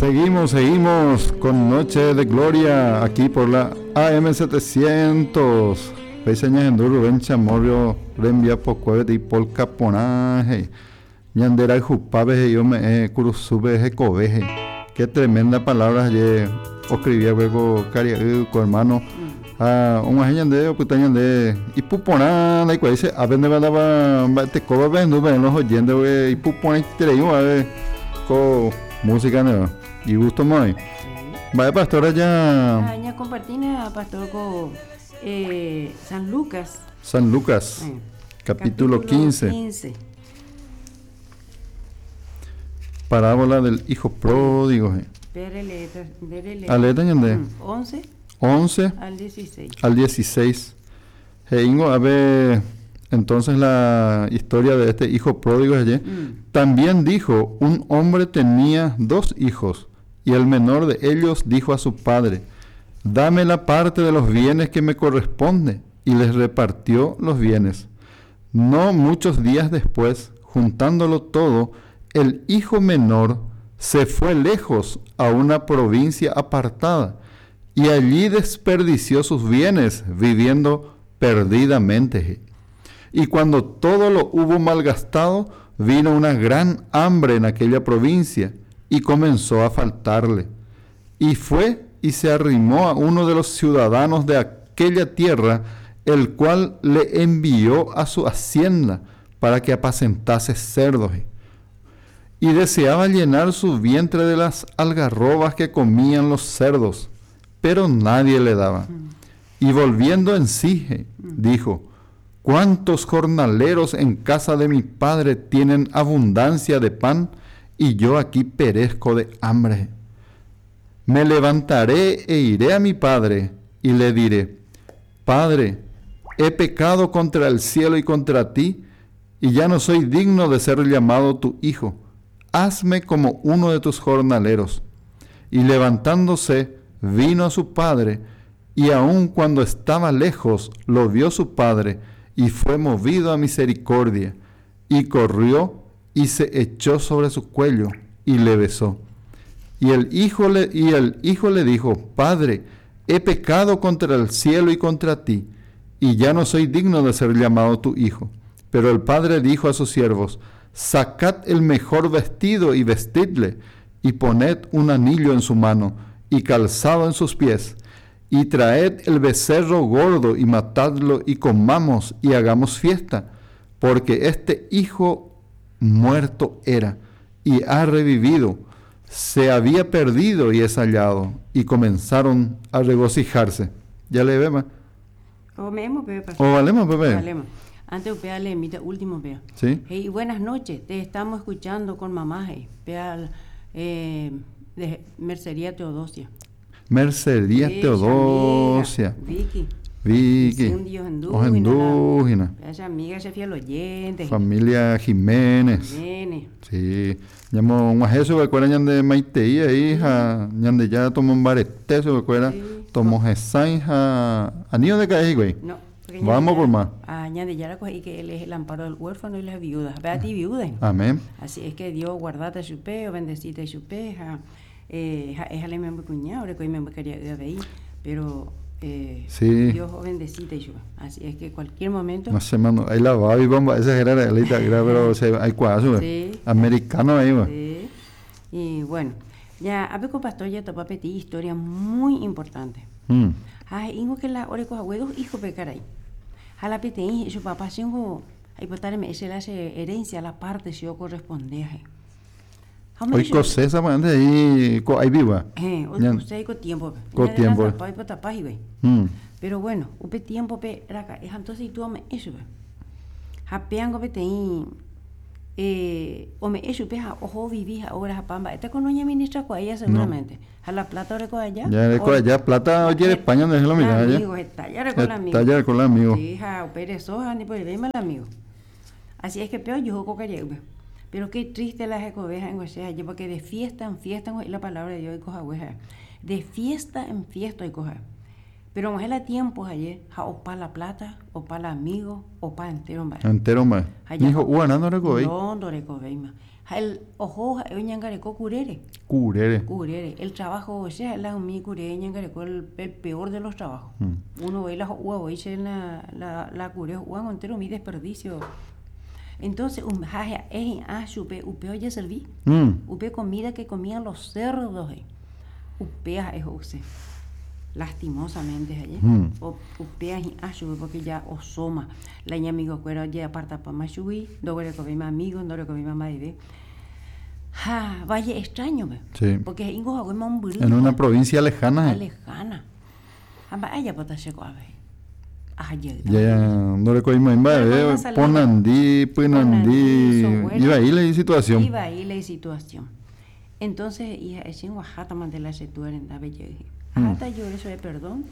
Seguimos, seguimos con Noche de Gloria aquí por la AM700. Péicha ñahendu Rubén Chamorro rembiapokue peteĩ polka porã he'i. Ñande rayhupápe he'i ome'ẽ kurusúpe hekove he'i. Qué tremenda palabra je oscribí va'ekue ko karia'y ko hermano. Ha og̃uahẽ ñande opyta ñande ipu porã ndaikuaái che ápe ndépa mba'etekópa pehendu peẽ los oyentes porque ipu porãiterei oĩve ko música ndéva. Igusto mo'ãi. Mba'e pastora ja. Ha ñakompartína pastor ko San Lucas. San Lucas, capítulo 15. Parábola del hijo pródigo. Aleéta ñande. 11. 11 al 16. Al 16. He'íngo ave entonces la historia de este hijo pródigo allí. También dijo, un hombre tenía dos hijos, y el menor de ellos dijo a su padre, dame la parte de los bienes que me corresponde, y les repartió los bienes. No muchos días después, juntándolo todo, el hijo menor se fue lejos a una provincia apartada y allí desperdició sus bienes viviendo perdidamente. Y cuando todo lo hubo malgastado, vino una gran hambre en aquella provincia y comenzó a faltarle. Y fue y se arrimó a uno de los ciudadanos de aquella tierra, el cual le envió a su hacienda para que apacentase cerdos. Y deseaba llenar su vientre de las algarrobas que comían los cerdos, pero nadie le daba. Y volviendo en sí, dijo, ¿cuántos jornaleros en casa de mi padre tienen abundancia de pan y yo aquí perezco de hambre? Me levantaré e iré a mi padre y le diré, Padre, he pecado contra el cielo y contra ti, y ya no soy digno de ser llamado tu hijo. Hazme como uno de tus jornaleros. Y levantándose, vino a su padre, y aun cuando estaba lejos, lo vio su padre, y fue movido a misericordia, y corrió y se echó sobre su cuello, y le besó. Y el hijo le, y el hijo le dijo, Padre, he pecado contra el cielo y contra ti, y ya no soy digno de ser llamado tu hijo. Pero el padre dijo a sus siervos, Sacad el mejor vestido y vestidle, y poned un anillo en su mano y calzado en sus pies, y traed el becerro gordo y matadlo y comamos y hagamos fiesta, porque este hijo muerto era y ha revivido, se había perdido y es hallado, y comenzaron a regocijarse. Ya le vemos. Comemos, bebé. O valemos, bebé. Valemos. Antes upéa leemíta último pea. Sí. Hey, buenas noches, te estamos escuchando con mamá, hey. Pea eh, de Mercería Teodosia. Mercería Sí, Teodosia. amiga, Vicky. Vicky. Ohendúhina. Ohendúhina. Esa amiga, ese fiel oyente. Familia Jiménez. Jiménez. Sí. Ñamog̃uahẽ chupekuéra ñande maitei ahí ha Ñandejára tomombarete chupekuéra, Sí. tomohesãi ha ani ondeka'e hikuái. No, porque Vamos por más. Ah, Ñandejára ko he'i que él es el amparo del huérfano y las viudas. Ve a ti viuda. Amén. Así es que Dios guardate chupe, o bendecite chupe, ha, eh, ha, éjale memby kuña, oreko imemby karia'y avei, pero eh, Sí. Dios bendecite chupe. Así es que cualquier momento. No sé, mano, ahí la va y bomba, esa era la ita'ýra, pero se aikuaa chupe. Sí. Americano ahí, va. Sí. Y bueno, ya, a ver, pastor, ya topa petí historia muy importante. Ha he'íngo que la oreko hague dos hijo pe karai. Ha la peteĩ he'i chupe, Papá, chéngo aipota reme'ẽ che la che herencia, la parte che okorresponde he'i. Ha ome'ẽ chupe. Oikose sapy'ánte he'i ko aipigua. Héẽ, oikose ko tiémpope. Ko tiémpope. Ñadelanzapa oipotapa hikuái. Péro guéno, upe tiémpope raka'e ha entónse itúva ome'ẽ chupe. Ha péango peteĩ ome'ẽ chupe ha oho ovivi ha obra ha pa mba'éta ko noñeministrakuaéiva seguramente. Ha la plata oreko aja. Ya oreko aja plata ojerepa ñande lo mitad aja. Amigo, heta jareko la amigo. Heta jareko la amigo. Sí, ha upe reso ha ndiporevéima la amigo. Así es que pe ojuhu ko karia'ýpe. Pero qué triste la hekove ha'engo che aje porque de fiesta en fiesta oĩ la palabra de Dios oiko hague ha'e. De fiesta en fiesta oiko ha'e. Pero og̃uahẽ la tiempo haye ha opa la plata, opa la amigo, opa entero mba'e. Entero mba'e. Ha Ni ho'u'arã ndorekovéi. No, ndorekovéima. Ha el oho ha'e oñangareko kurére. Kurére. Kurére. El trabajo, che ha'e la umi kure ñangareko el, el peor de los trabajos. Uno voi la ho'úva voi che la, la, la kure ho'úva entero umi desperdicio. Entonces, um, ha ha'e hi'ã chupe upe ojeservi. Upe comida que comían los cerdos he'i. Upéva ha'e ho'use. Lastimosamente ha'e. Upéva hi'ã chugui porque ya osóma. La iñamigokuéra ojeapartapáma chugui, ndoguerekovéima amigo, ndorekovéima mba'eve. Ha valle extraño-pe. Sí. Porque he'íngo haguéma mombyry. En una provincia lejana. he'i. Lejana. Ha mba'e ajapóta che ko'ápe he'i. Aha jeýta. Ya ndorekovéima mba'eve, Ndorekovéima salida. ponandi, pynandi, Ponandi, soguera. ivai la isituación. Ivai la isituación. Entonces he'i ha'e che aguaháta mante la che túa rendápe jey he'i. Aháta ajore chupe perdón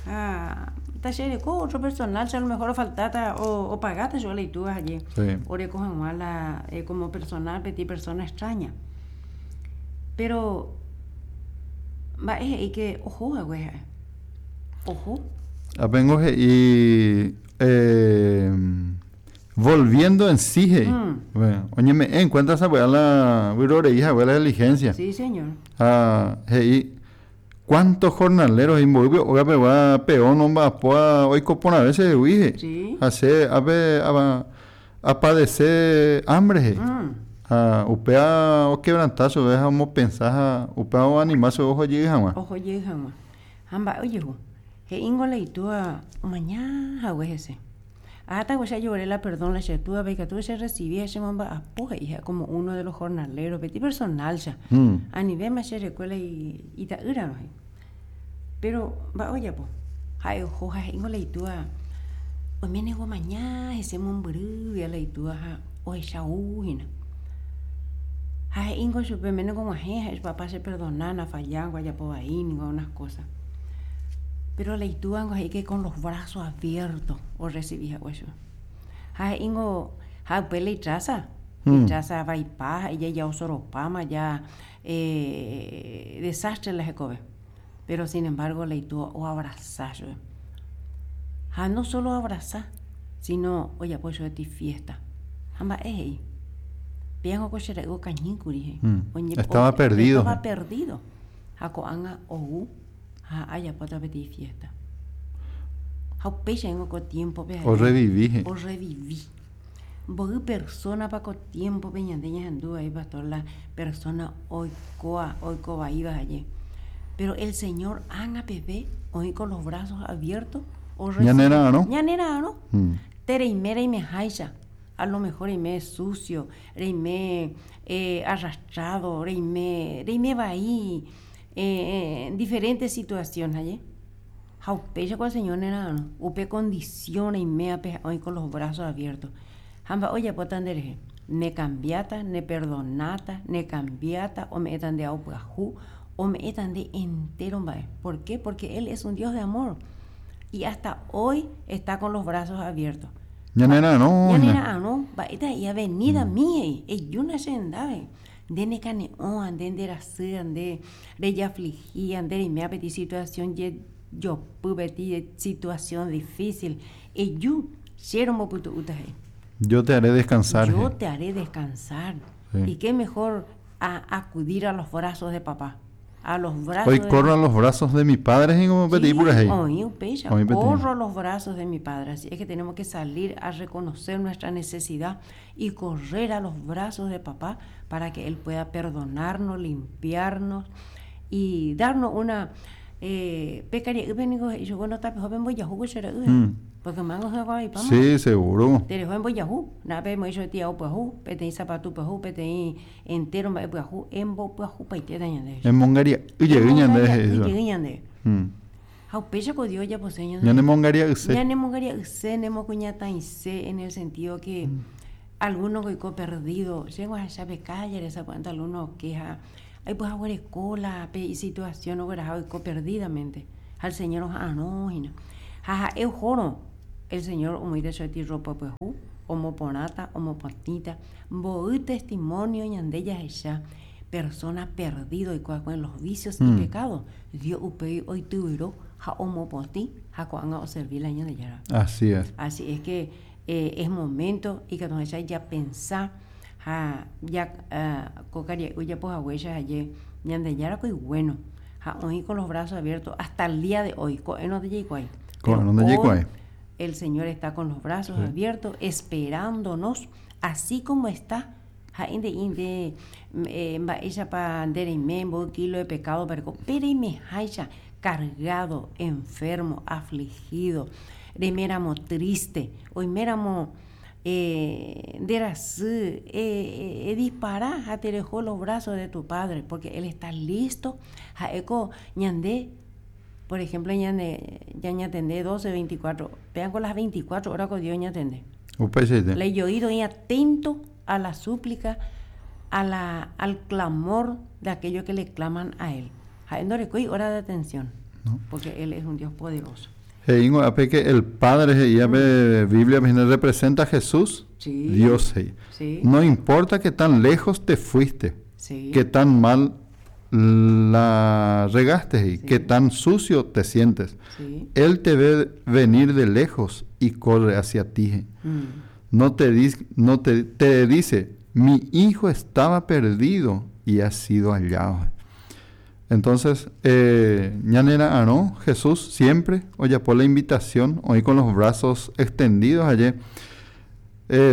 ha tachereko otro personal che a lo mejor ofaltáta opagáta chupe la itúa haye oreko hag̃ua la como personal peteĩ persona extraña. Pero mba'e he'i ke oho hague ha'e, oho. Ápengo he'i Volviendo en sí he'i. Bueno, oñeme'ẽ en cuenta sapy'a la vyrorei hague la diligencia. Sí, señor. Ha he'i, cuántos jornaleros he'i mboýpe óga pegua peón omba'apóva oiko porãve chehegui he'i. Sí. Ha che ápe apadece hambre he'i. Ha upéva oquebranta chupe ha omopensa ha upéva oanima chupe oho jey hag̃ua. Oho jey hag̃ua. Ha mba'e ojehu? He'íngo la itúva omaña hague hese. Aháta che ajore la perdón la che túape ikatu che recibi ha che momba'apo he'i ha'e como uno de los jornaleros peti personal-cha. Anivéma che rekuéla ita'ýrarõ he'i. Pero mba'e ojapo? Ha'e oho ha he'íngo la itúa oiméne omaña hese mombyrýgui la itúa ha ohecha ou hína. Ha he'íngo chupe oiméne og̃uahẽ ha he'i papá che perdona nafallángo ajapo vai ningo unas cosas. Pero la itúango he'i que con los brazos abiertos orrecibi hague chupe. Ha he'íngo ha upe la itraza, itraza vaipa ha ija ojosoropáma ja desastre la hekove. Pero sin embargo la itúa oabrasa chupe. Ha no solo oabrasa, sino ojapo chupe ti fiesta. Ha mba'e he'i? Péango ko che ra'y okañýkuri he'i. Estaba perdido. Estaba perdido. Ha ko'ág̃a ou ha ajapóta peteĩ fiesta. Ha upéicha ningo ko tiémpope ha'e Orrevivi he'i. Orrevivi. Mboy persónapa ko tiémpope ñande ñahendu vai pastor la persóna oikóva, oiko vaíva haye. Péro el Señor ág̃a peve oĩ con los brazos abiertos orrecivi. Ñanera'arõ. Ñanera'arõ. Tereime reimeháicha. A lo mejor reime sucio, reime arrastrado, reime, reime vai diferente situación aje. Ha upéicha ko el Señor nera'arõ, upe condición reimévape ha'e oĩ con los brazos abiertos. Ha mba'e ojapóta nderehe? Nekambiáta, neperdonáta, nekambiáta, ome'ẽta nde ao pyahu, ome'ẽta nde entero mba'e. ¿Por qué? Porque Él es un Dios de amor y hasta hoy está con los brazos abiertos. Ñanera'arõ. Ñanera'arõ, mba'éta he'i avenida mi he'i, ejúna che rendápe, nde nekane'õva, nde nderasýva, nde rejaflihíva, nde reiméva peteĩ situación jejopy, peteĩ situación difícil, eju, che rombopytu'úta he'i. Yo te haré descansar. Yo te haré descansar. Sí. Y qué mejor a acudir a los brazos de papá. A los brazos Hoy de corro a los brazos de mi padre, he'i como peteĩ Sí, purahéi. oĩ upéicha, Oĩ peteĩ. corro a los brazos de mi padre. Así es que tenemos que salir a reconocer nuestra necesidad y correr a los brazos de papá para que él pueda perdonarnos, limpiarnos y darnos una pe karia'ýpe niko he'i chupe tapeho pembojahu ko che ra'y he'i. Porque mángo hyakuãvaipáma. Sí, seguro. Tereho embojahu, na'ápe emoĩ chupe tiao pyahu, peteĩ sapatu pyahu, peteĩ Entéro mba'e pyahu embopyahupaitéta ñande. Emongaria'y jey ñande he'i Emongaria'y jey ñande. Ha upéicha ko Dios ojapose ñande. Ñanemongaria'yse. Ñanemongaria'yse, nemokuñataĩse en el sentido que alguno oiko perdido. Che ahecha pe kállere sapy'ánte alguno oke ha aipyahaguereko la pe isituación ogueraha oiko perdidamente. Ha el Señor oha'arõ hína. Ha ha'e ohórõ el Señor omoĩta chupe ropa pyahu, omoporãta, omopotĩta. Mboy testimonio ñande jahecha. persona perdido oikuaakue en los vicios y pecados, Dios upéi oityvyro ha omopotĩ ha ko'ág̃a oservi la Ñandejára. Así es. Así es que es momento ikatu hag̃uáicha japensa ha ja ko karia'y ojapo haguéicha haye Ñandejára ko iguéno ha oĩ con los brazos abiertos hasta el día de hoy, ko'ẽrõ ndajaikuaái. Ko'ẽrõ ndajaikuaái. El Señor está con los brazos abiertos esperándonos así como está Ha'e nde'i nde mba'éichapa nde reime mboy kilo de pecado pereko, pe reimeháicha cargado, enfermo, afligido, reiméramo triste, oiméramo nde rasy, edispara ha tereho los brazos de tu Padre, porque Él está listo, ha'éko ñande, por ejemplo ñande ñañatende doce, veinticuatro, péango las veinticuatro horas ko Dios ñatende. Upeichaite. La ijoído oĩ atento a la súplica, a la, al clamor de aquellos que le claman a Él. Ha'e ndorekói hora de atención, No. porque Él es un Dios poderoso. He'íngo ápe que el Padre he'íva pe Biblia-pe hína representa Jesús, Sí. Dios he'i. Sí. No importa que tan lejos te fuiste, Sí. que tan mal la regaste he'i, Sí. que tan sucio te sientes. Sí. Él te ve venir de lejos y corre hacia ti he'i. No te no te, te dice, mi hijo estaba perdido y ha sido hallado. Entonces, ñanera'arõ Jesús siempre ojapo la invitación, oĩ con los brazos extendidos aje.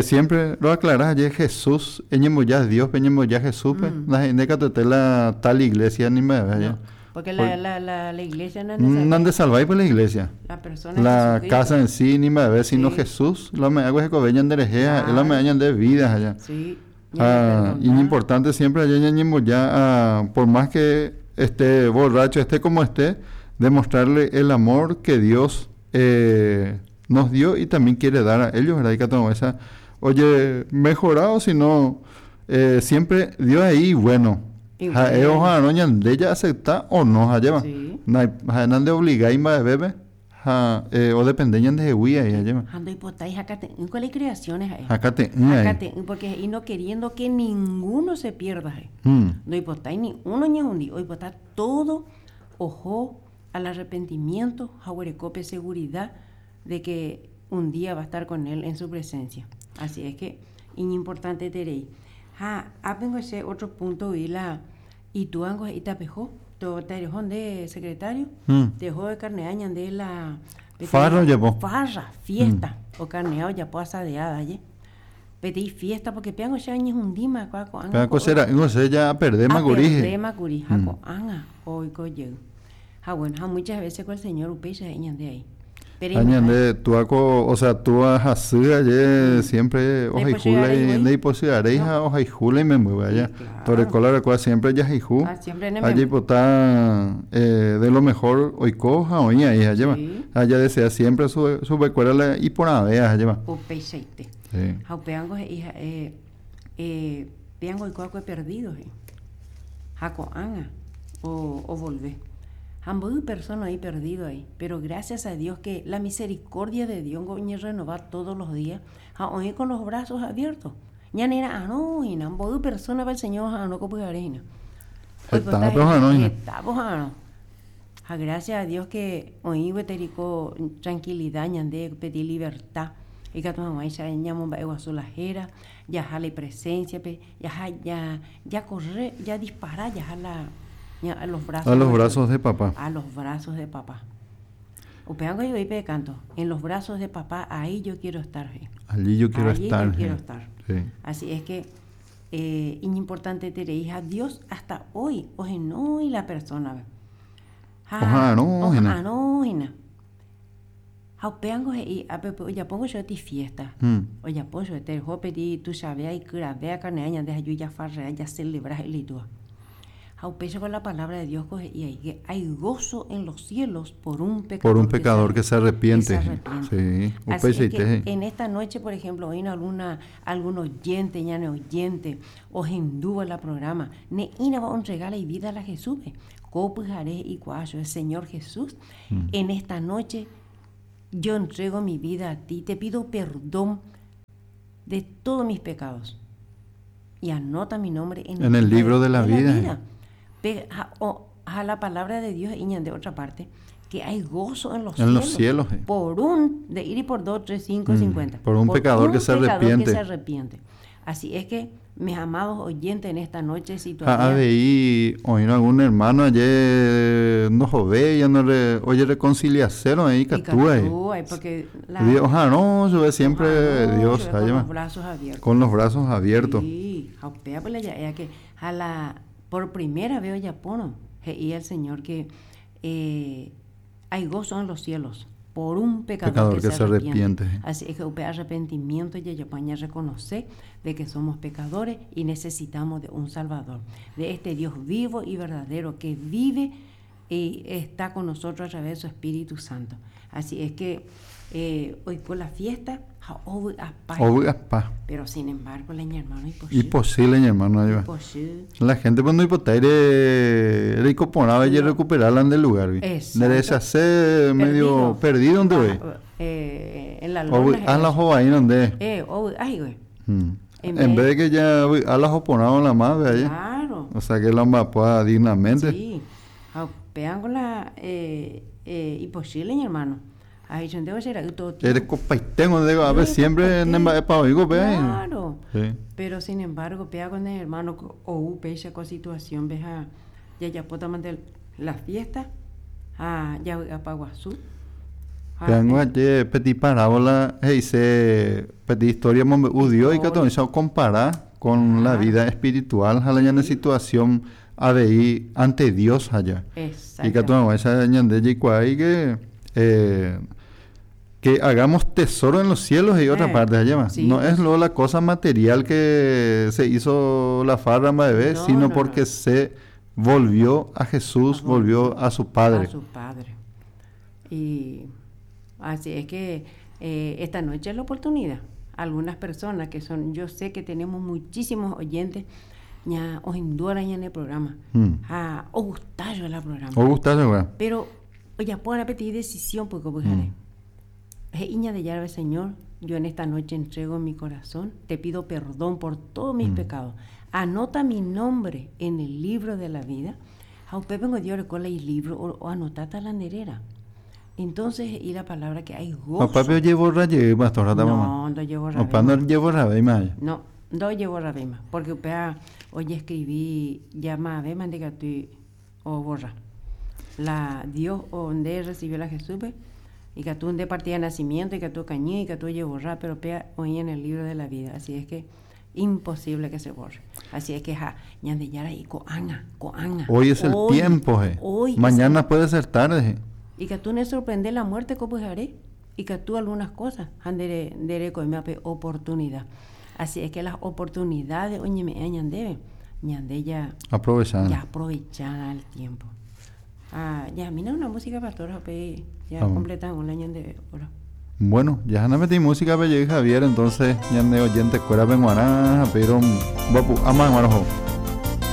Siempre lo aclarás aje Jesús, eñemboja Dios-pe, eñemboja Jesús-pe, ndahe'ínte katuete la tal iglesia ni mba'eve aje. No, porque la, la, la, la iglesia nandesalvái. Nandesalvái pues la iglesia. La persona La Jesucristo. casa en sí ni mba'eve, sino Sí. Jesús, la ome'ẽgui hekove ñanderehe, ha'e la ome'ẽ Claro. ñande vida aja. Sí. Ha iñimportante siempre aje ñañemboja a, por más que esté borracho, esté como esté, demostrarle el amor que Dios nos dio y también quiere dar a ellos, ¿verdad? Ikatu hag̃uáicha oje mejorado, sino siempre Dios ahí bueno. Ha'e oha'arõ ñande ja'acepta o no ha'éva. Ha'e nandeobligái mba'evépe ha odepende ñandehegui ahí ha'éva. Ha ndoipotái hakate'ỹ ko la icreaciones ha'e. Hakate'ỹ ahí. Hakate'ỹ porque he'i no queriendo que ninguno se pierda ha'e. Ndoipotái ni uno ñehundi, oipota todo oho al arrepentimiento ha oguereko pe seguridad de que un día va a estar con él en su presencia. Así es que iñimportanteterei. Ha ápengo che otro punto vi la itúango he'i tapeho, to tareho nde secretario, teho ekarnea ñande la peteĩ Farra ojapo. Farra, fiesta, okarnea ojapo asadeada je. Peteĩ fiesta porque péango che añehundíma kua ko'ág̃a Péa ko che ra'ýngo che ja aperdéma kuri he'i. Aperdéma kuri ha ko'ág̃a oiko jey. Ha bueno, ha muchas veces ko el Señor upéicha he'i ñande ahí. Ha ñande túa ko, o sea, túa ha sy aje siempre ohayhu la ndaipochy'aréi ha ohayhu la imembyve aja. Toreko la rekuaa siempre jahayhu ha jaipota de lo mejor oiko ha oĩ ahí ajéva. Ha jadesea siempre chupekuéra la iporãvéva ajéva. Upeichaite. Ha upévango he'i ha'e péango oiko va'ekue perdido he'i. Ha ko'ág̃a ovolve. Ha mboy persona oĩ perdido ahí. Pero gracias a Dios que la misericordia de Dios ngo oñerrenova todos los días ha oĩ con los brazos abiertos. Ñanera'arõ hína, mboy persona-pa el Señor oha'arõ ko pyhare hína. Hetápe oha'arõ hína. Hetápe oha'arõ. Ha gracias a Dios que oĩ gueteri ko tranquilidad ñande peteĩ libertad ikatu hag̃uáicha ñamomba'eguasu la héra, jaha la ipresencia-pe, jaha ja jakorre, jadispara jaha la a los brazos A los brazos de papá. A los brazos de papá. Upévango he'i pe canto, en los brazos de papá ahí yo quiero estar. Allí yo quiero Allí estar. yo quiero estar. Sí. Así es que iñimportanteterei ha Dios hasta hoy ohenói la persona-pe. Ha Oha'arõ hína. Oha'arõ hína. Ha upévango he'i ápe ojapóngo chupe fiesta. Ojapo chupe tereho peti tuichavéa ikyravéa karne'a ñande haju jafarrea jacelebra he'i itúva. Ha upéicha con la palabra de Dios ko he'i ahí que hay gozo en los cielos por un pecador, Por un pecador que se arrepiente. Que se arrepiente. Sí, Así es upeichaite que he'i. en esta noche, por ejemplo, oĩna alguna, algún oyente, ñane oyente, ohendúva la programa, ne'ĩrava ontrega la ivida la Jesús-pe. Ko pyhare he'i kuaa chupe, Señor Jesús, en esta noche yo entrego mi vida a ti, te pido perdón de todos mis pecados. Y anota mi nombre en, en el libro de la vida. Pe, ha, o, ha la palabra de Dios y de otra parte que hay gozo en los en cielos. los cielos. Por un, de ir y por dos, tres, cinco, 50. Por un pecador que se arrepiente. que se arrepiente. Así es que, mis amados oyentes, en esta noche, si todavía... Avei, oír algún hermano ayer no jove, ya no le, oye, reconciliación ahí, catúa ahí. Porque la, Dios, no, se ve siempre Dios, con los brazos abiertos. Con los brazos abiertos. Sí, pues, ya, que a la, por primera vez ya pono, y el Señor que hay gozo en los cielos por un pecador, que, se arrepiente. Así es que un arrepentimiento y ya reconocer de que somos pecadores y necesitamos de un Salvador, de este Dios vivo y verdadero que vive y está con nosotros a través de su Espíritu Santo. Así es que hoy por la fiesta, pero sin embargo, la hermano, imposible. hermano, La gente cuando hipotaire recuperaba y recuperarla del lugar. Exacto. hacer medio perdido donde ve. En la lona. A la ahí donde. Ay, güey. En vez de que ya a la joponado la madre allá. Claro. O sea que la pueda dignamente. Sí. Pegan con la imposible, hermano. Ahí yo debo ser todo Eres copaitengo, digo, a ver, siempre en el ve. Claro. Sí. Pero sin embargo, pega con el hermano o pecha con situación, veja, ya ya puedo mandar la fiesta, a ya a Paguazú. Peango ayer petit parábola, dice petit historia dio y que todo eso compara con la vida espiritual, a la situación ADI ante Dios allá. Exacto. Y que todo esa de que que hagamos tesoro en los cielos y otra parte allá sí, no es luego la cosa material que se hizo la farra bebé, no, sino no, porque no. se volvió a Jesús, volvió a su Padre. A su Padre. Y así es que esta noche es la oportunidad. Algunas personas que son, yo sé que tenemos muchísimos oyentes, ya os induran en el programa. O gustallo el programa. O gustallo, güey. Pero, oye, puedo repetir decisión porque voy Iña de Yarbe, Señor, yo en esta noche entrego mi corazón, te pido perdón por todos mis pecados. Anota mi nombre en el libro de la vida. A usted vengo Dios el libro o anotata la nerera. Entonces, y la palabra que hay gozo. Papá, yo llevo raye, pastor, no, no llevo raye. Papá, no llevo raye, No, no llevo raye, porque usted hoy escribí, llama a ver, mande que o borra. La Dios donde recibió la Jesús, y que tú de partida de nacimiento, y que tú cañí, y que tú llevo borrar, pero pea hoy en el libro de la vida. Así es que imposible que se borre. Así es que ja, ñande yara y coanga, coanga. Hoy es el tiempo, je. Hoy mañana puede ser tarde, je. Y que tú no sorprende la muerte como haré, y que tú algunas cosas andere dere coime oportunidad. Así es que las oportunidades oye me ñande, ñande ya aprovechar. Ya aprovechar el tiempo. Ah, ya, mira una música pastora, ya completan un año de oro. Bueno, ya no metí música, pero Javier, entonces, ya de oyente, cuera benguará, pero, guapu, ama, guarajo.